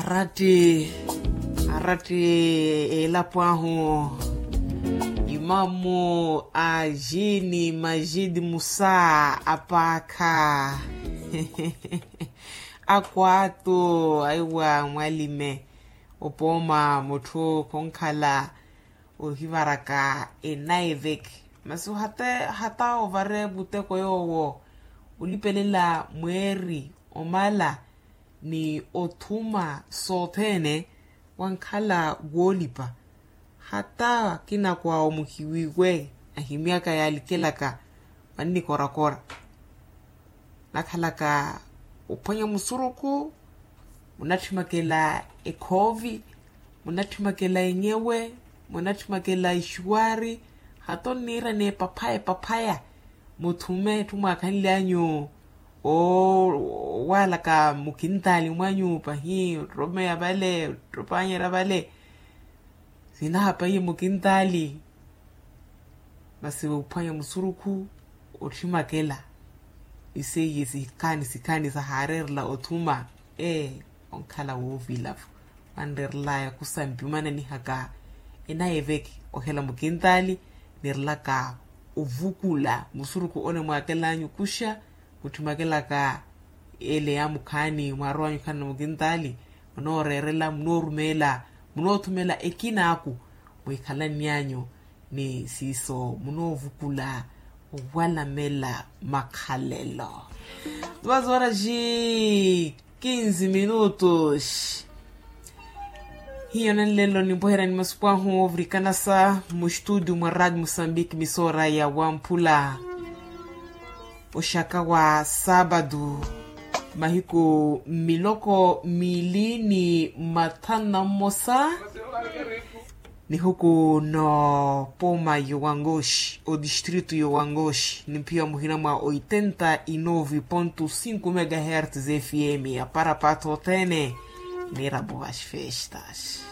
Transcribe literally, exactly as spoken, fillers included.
Aratti, aratti, elapo ahu, imamu a jini majidi musa apaakha. Akwaatu aiwa mwalime, opooma mutthu khonkhala ohivaraka enaiveke. Masi hata ovare muteko yoowo olipelela mweeri omala ni othuma sothene, wankhala woolipa. Hata kinakwa omuhiwiwe ahimyaka yaalikelaka, mannikorakora nakhalaka ophwanya musurukhu, munattimakela ekhoovi, munattimakela enyewe, munattimakela ixuwaari. Hata onniira n'epaphaya epaphaya, muthume etthu mwaakhanly'anyu owaalaka mukintaali mwanyu pahi ottomeya vale ottopaanyerya vale. Sinahapaiye mukintaali, masi ophwanya musurukhu, otthimakela iseiye sikhaani sikhaani sahaareerela othuma. Ee, onkhala woovila-vo, anreerelaya khusampi omananihaka enaiveke ohela mukintaali, nirelaka ovukula musurukhu onemwaakelanyu kuxa, mutthimakelaka ele yaamukhaani mwaarow'anyu khanna mukintaali, munooreerela munoorumeela, munoothumela ekinaaku, mwiikhalanny'anyu ni siiso munoovukula owalamela makhalelo. Duas horas e quinze minutos. Hiyo nanlelo nimpweherani masuku ahu ovurikanasa mustudio mwa radio mosambiki misora ya wamphula, oxaka wa saabadu, mahiku miloko miili ni mathanu na mmosa, nihuku no poma yowangoxi odistrito yowangoxi nimphiya muhina mwa oitenta e nove ponto cinco megahertz fm ya parapatho othene. Nirapo vaxi festas.